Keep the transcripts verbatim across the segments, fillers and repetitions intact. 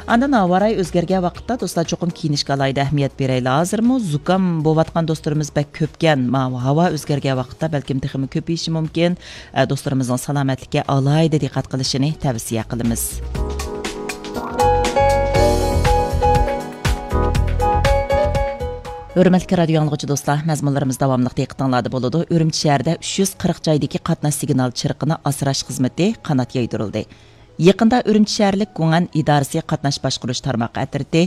ئاندىن ھاۋا رايى ئۆزگەرگەن ۋاقىتتا، دوستلار، چوقۇم كىيىنىشكە ئالاھىدە ئەھمىيەت بېرەيلى. ھازىرمۇ زۇكام بولۇۋاتقان دوستلىرىمىز بەك كۆپكەن. ماۋۇ ھاۋا ئۆزگەرگەن ۋاقىتتا بەلكىم تېخىمۇ كۆپىيىشى مۇمكىن. ئە، دوستلىرىمىزنىڭ سالامەتلىككە ئالاھىدە دىققەت قىلىشىنى تەۋسىيە قىلىمىز. ھۆرمەتلىك رادىيو ئاڭلىغۇچى دوستلار، مەزمۇنلىرىمىز داۋاملىق دىققىتىڭلاردا بولىدۇ. ئۈرۈمچى شەھىرىدە ئۈچ يۈز قىرىق جايدىكى قاتناش سىگنال چىرىقىنى ئاسراش خىزمىتى قانات يايدۇرۇلدى. يېقىندا ئۈرۈمچى شەھەرلىك گۇڭئەن ئىدارىسى قاتناش باشقۇرۇش تارماق ئەترىتى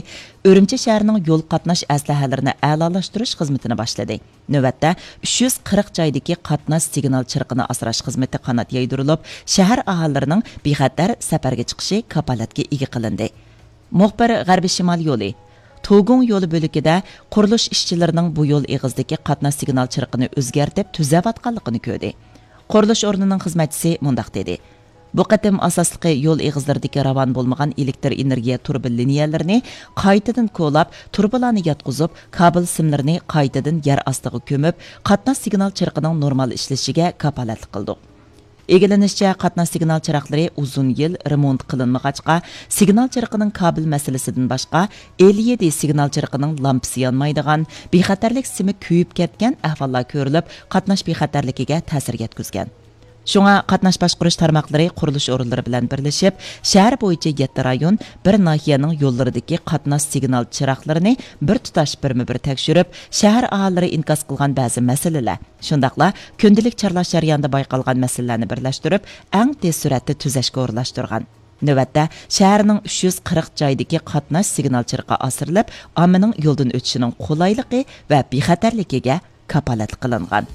ئۈرۈمچى شەھىرىنىڭ يول قاتناش ئەسلىھەلىرىنى ئەلالاشتۇرۇش خىزمىتىنى باشلىدى. نۆۋەتتە ئۈچ يۈز قىرىق جايدىكى قاتناش سىگنال چىرىقىنى ئاسراش خىزمىتى قانات يايدۇرۇلۇپ، شەھەر ئاھالىلىرىنىڭ بىخەتەر سەپەرگە چىقىشى كاپالەتكە ئىگە قىلىندى. مۇخبىر غەربىي شىمال يولى، توگۇڭ يولى بۆلىكىدە قۇرۇلۇش ئىشچىلىرىنىڭ بۇ يول ئېغىزىدىكى قاتناش سىگنال چىرىقىنى ئۆزگەرتىپ تۈزەۋاتقانلىقىنى كۆردى. قۇرۇلۇش ئورنىنىڭ خىزمەتچىسى مۇنداق دېدى: بۇ قېتىم ئاساسلىقى يول ئېغىزلىرىدىكى راۋان بولمىغان ئېلېكتر ئېنېرگىيە تۇرۇبا لىنىيەلىرىنى قايتىدىن كولاپ، تۇرۇبىلارنى ياتقۇزۇپ، كابېل سىملىرىنى قايتىدىن يەر ئاستىغا كۆمۈپ، قاتناش سىگنال چىرىقىنىڭ نورمال ئىشلىشىگە كاپالەتلىك قىلدۇق. ئىگىلىنىشىچە، قاتناش سىگنال چىراغلىرى ئۇزۇن يىل رېمونت قىلىنمىغاچقا، سىگنال چىرىقىنىڭ كابېل مەسىلىسىدىن باشقا، ئېل يەتتە سىگنال چىرىقىنىڭ لامپىسى يانمايدىغان، بىخەتەرلىك سىمى كۆيۈپ كەتكەن ئەھۋاللار كۆرۈلۈپ، قاتناش بىخەتەرلىكىگە تەسىر يەتكۈزگەن. شۇڭا قاتناش باشقۇرۇش تارماقلىرى قۇرۇلۇش ئورۇنلىرى بىلەن بىرلىشىپ، شەھەر بويىچە يەتتە رايون، بىر ناھىيەنىڭ يوللىرىدىكى قاتناش سىگنال چىراغلىرىنى بىر تۇتاش بىرمۇ بىر تەكشۈرۈپ، شەھەر ئاھالىلىرى ئىنكاس قىلغان بەزى مەسىلىلەر، شۇنداقلا كۈندىلىك چارلاش جەريانىدا بايقالغان مەسىلىلەرنى بىرلەشتۈرۈپ، ئەڭ تېز سۈرئەتتە تۈزەشكە ئورۇنلاشتۇرغان. نۆۋەتتە، شەھەرنىڭ ئۈچ يۈز قىرىق جايدىكى قاتناش سىگنال چىرىقى ئاسرىلىپ، ئاممىنىڭ يولدىن ئۆتۈشىنىڭ قولايلىقى ۋە بىخەتەرلىكىگە كاپالەتلىك قىلىنغان.